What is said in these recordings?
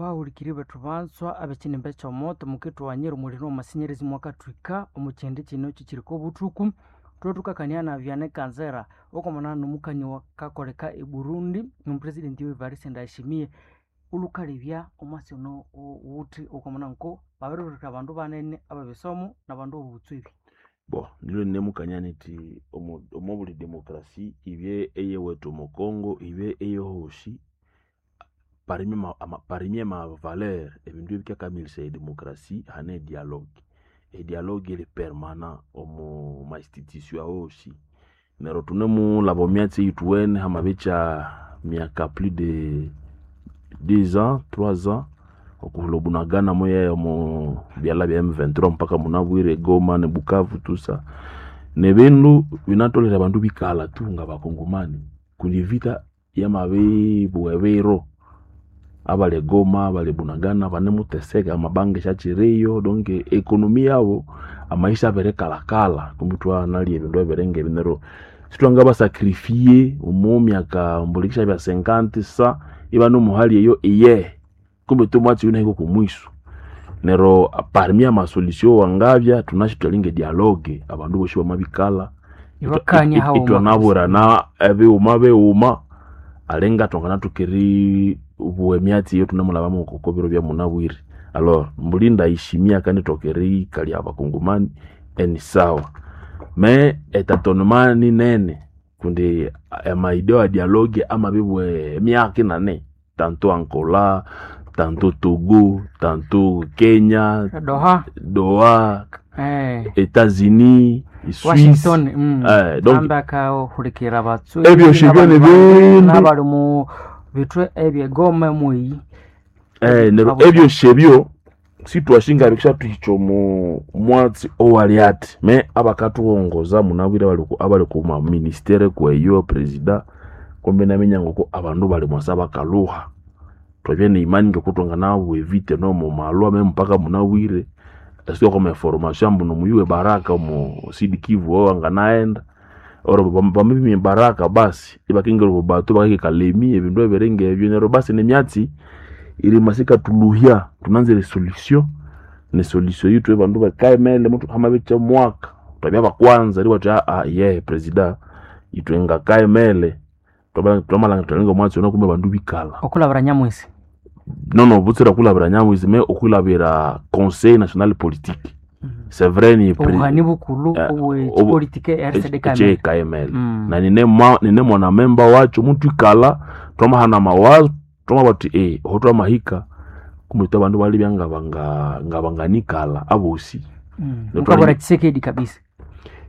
Abahulikiri bethu banzwa ab'ekinimba eky'omoto mukithughanyira omuliro w'amasinyerezi mwakathwika omu kihindi kino kikiriko obuthuku. Thwethukakania na Vianney Kanzera okwamana n'omukani wakakoleka e Burundi n'omupresidenti Evariste Ndayishimiye olhukalebya omwasi ono owuthi okwamana nko babirihulika abandu banene abebisomo n'abandu b'obutswebi. Bon, nilwe nemukania niti omo buli demokrasi ibye eyewethu omo Congo ibye eyehosi parmi ama valeur ebindu ebikakamilisaya edemokrasi hane edialogue. Edialogue eri permanent omo ma institution awosi neryo thunemulhaba omyatsi eyithuwene hamabikya myaka plus de 10 ans 3 ans okuhulha obunagana muye omo byalha bya M23 mpaka munabwire e Goma ne Bukavu tusa nebindu binatholere abandu bikalha tu ngabakongomani kundi evita yamabibugha ebiro abali e Goma abali e Bunagana banemuteseka amabanga isyakyiriyo donc economy yabo amaisha abirikalhakalha kumbi ithwanalya ebindu ebiringa ebi neryo sithwangabasacrifier omo myaka mbuli isyabya 50 sa ibane muhali eyo iyehe kumbe ithwe omwatsi oyu inahika okwamwiso neryo parmi ama solution wangabya thunasi ithwalinga edialogue abandu bosi bamabikalha Ibakania haghuma kabisa. ithwanabwirana ebighuma bighuma alinga thwanganathoka eribugha emyatsi eyo thunemulhabamu oko biro byamunabwire. Alors mbuli ndayishimiye akanithoka erikalya abakongomani eni sawa me etatonement ninene kundi ama idée wa dialogue amabibugha emyaka inane tanto Angola, tanto Togo, tanto Kenya, Doha, Doha, Etats-Unis, Suisse Washington, donc ambi akahulikirira abatswebi ebyosi n'abandu byona bangi ebindu n'abali mu bithwe ebyegoma mweyi neryo abo ebyosi ebyo sithwashinga bikishathuhikya omu mwatsi owali athi me abakathughongoza munabwire abali ku maministere kweyo president kumbi naminya ngoko abandu bali mwasa bakalhuha thwabya neimani ngoko thwanganabugha evita nomo malwa me mpaka munabwire esiko kwa information ambu nomuyuwe Baraka omo Sud Kivu owo anganaghenda or bamabiminya Baraka basi ibakingira obo batu bakahika Kalemi ebindu ebiringa ebyo neryo basi nemyatsi irima sikathulhuhya thunanzire esolution nesolution yithu abandu bakaghemere hamabikya omwaka thwabya bakwanza eribugha thuthi yehe president ithwe ngakaghemere thwamalhangira thwalinga omwatsi ono kumbe abandu bikalha okulhabira Nyamwisi. nono butsira okulhabira Nyamwisi me okulhabira conseil national politique c'est vrai ni Obuhani bukulhu obw'ekipolitike RCD KML. ekyekaemele na nine mwana memba wakyo muthwikalha thwamahana amawazo thwamabugha thuthi oho thwamahika kumbe ithwe abandu balibya ngabanganikalha abosi. Mukabwira Tshisekedi kabisa.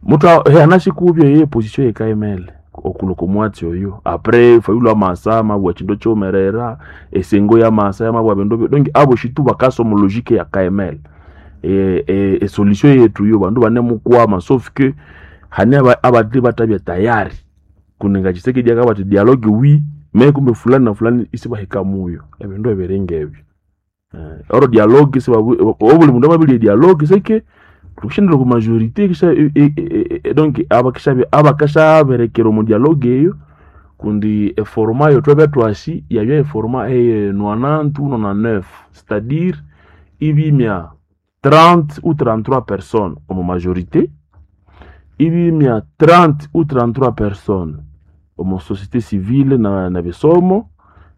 Muthu anashikubya ye position yekaemele okulwa okwamwatsi oyo apres Fayulu amasa amabugha ekindu ekyiwumerera esengo yamasa yamabugha ebindu donc abosi tu bakasa omu logique ya KML esolution yethu yo bandu banemukwama sauf que hane abandi bathabya tayari kundi nga Tshisekedi akabugha athi dialogue oui me kumbe fulani na fulani isibahika muyo ebindu ebiringa ebyo. Oro dialogue obuli mundu amabirya edialogue seke thukishendera okwa majorité kisha donc abakashaberekera omu dialogue eyo kundi eforma eyo thwabya thwasi yabya eforma eye 90 ou 99 c'est-à-dire ibimya 30 ou 33 personnes omu majorité ibimya 30 ou 33 personnes omu société civile na bisomo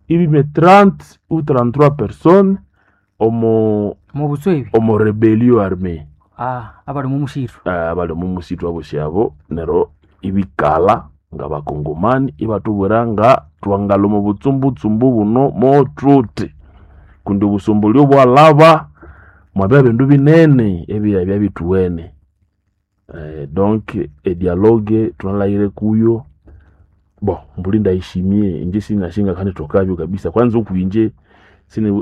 ibimya 30 ou 33 personnes omu Mu butswebi. omu rebellion armée Abali mu mushiru. Abali omu musitu abosi abo neryo ibikalha ngabakongomani ibathubwira nga thwangalha omu butsumbutsumbu buno mothuthi kundi obusumbulyo bwalhaba mwabya bindu binene ebyabya bithuwene. Donc edialogue thunalhaghire kuyo bon mbuli ndayishimiye inje sinashinga kandithokabyo kabisa kwanza okwinje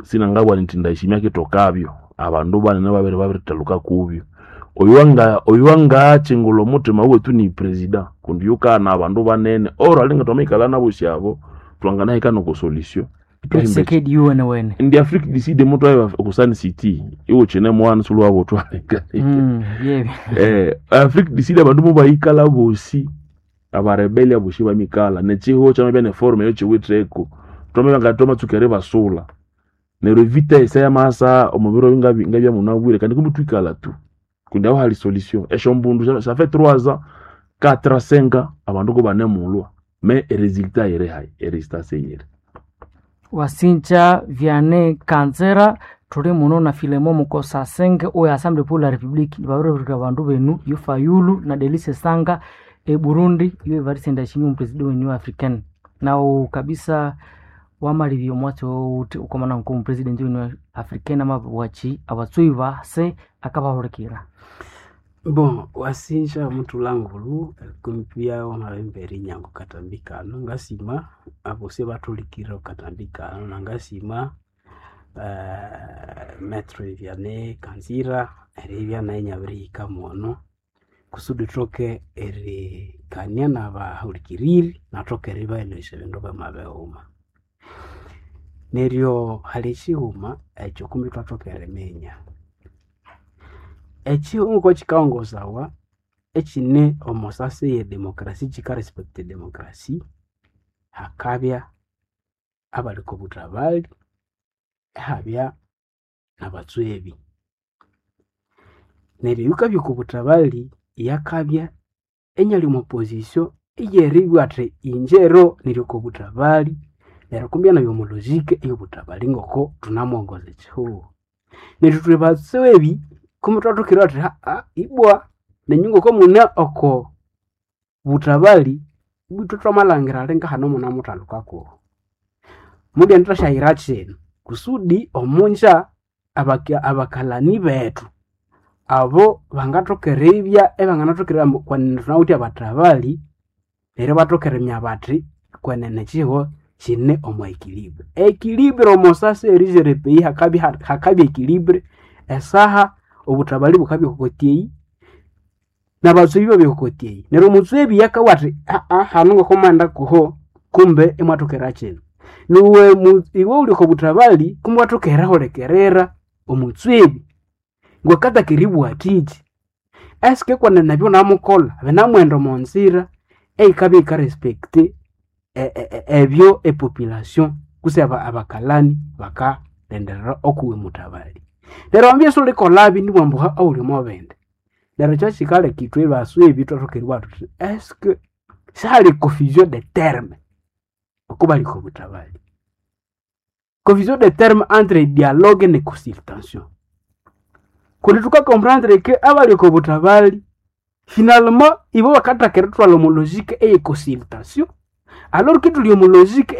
sinangabugha nithi ndayishimiye akithokabyo abandu banene babiri babirithaluka kubyo oyu wangakyingulha omuthima wethu ni president kundi yukana abandu banene or alinga thwamayikalha nabosi abo thwanganahika noko solution. Tshisekedi yuwene wene. Indi Afrique du Sud muthu oku Sun City iwukyine mwana sulhuwabuthwa Yebyo. Afrique du Sud abandu mubayikalha bosi abarebeli abosi bamikalha nekyihugho kyamabya neforum eyo kyiwitheko thwamabya nga thwamatsuka eribasulha. Neryo vitesse yamasa omubiro ngabya munabwire kandi kumbe twikala tu kundi aho hali solution. Esyo mbundu ça fait 3 ans, 4 ans, 5 ans abandu ko banemulwa, mais eresultat iri hayi, eresultat seyiri. Wasinja Vianney Kanzera, tuli muno na Filemo Mukosa Senge oyo Assemblée pour la République, nibabiribirira abandu benu yo Fayulu na Delice Sanga e Burundi, iyo Evariste Ndayishimiye omupresident wenyu africaine. Nawu kabisa wamalibya omwatsi owuthi ukomana nko omupresident wenyu africaine amabwachi abatsui base akabahulikira. Bon, wasinja mutulangulu kumpia wamabembere nyango katambi kano ngasima abose bathulikire katambi kano nangasima Maître Vianney Kanzira eribya naye nyabirihika mono kusudi thoke erikania nabahulikiriri nathoke eribaelesya ebindu byamabighuma. Neryo hali ekighuma ekyo kumbi ithwathoka eriminya. Ekighuma ngokukikaghongosawa ekine omo sasi eye demokrasi kika respect edemokrasi, hakabya abali okobuthabali ihabya nabatswebi. Neryo oyukabya okobuthabali yakabya inyali omo position eyeribugha athi inje ero niri okobuthabali neryo kumbi inabya omo logic eyobuthabali ngoko thunamuwongoza ekihugho. Neryo ithwe batswebi kumbi ithwathoka eribugha thuthi ibwa nenyu ngoko mune oko buthabali ibwa ithwe thwamalhangira alinga hano munemuthalhuka kuhu. Mubyendithasyayira kino kusudi omunja abakalani bethu abo bangathoka eribya ibanganathoka eribugha kwenene thunawithe abathabali neryo ibathoka eriminya bathi kwenene ekihugho kine omo equilibre. Equilibre omo sasi erijere epeyi hakabya hakabya equilibre esaha obuthabali bukabya okokoti eyi nabatswebi ibabya okokoti eyi. Neryo omutswebi akabugha athi hanu ngoko kuho kumbe imwathoka kino. Niwe iwe wuli oko buthabali kumbe iwathoka erihulikirira omutswebi ngwakataka eribugha athiki. Eske kwenene ebyo wunamukolha binamughenda omo nzira eyikabya yika respect ebyo epopulation kutse abakalani bakalhenderera okuwe muthabali. Neryo wamabya isiwulikolhabi nibugha ambu awuli omo bindi. Neryo kyakikaleka ithwe baswebi ithwathoka eribugha thuthi eske sihali confusion de terme oko bali oko buthabali. Confusion de terme entre dialogue ne consultation. Kundi thuka comprendre que abali oko buthabali finalement ibo bakathaka erithwalha omo logic eye consultation alors que ithuli omo logic.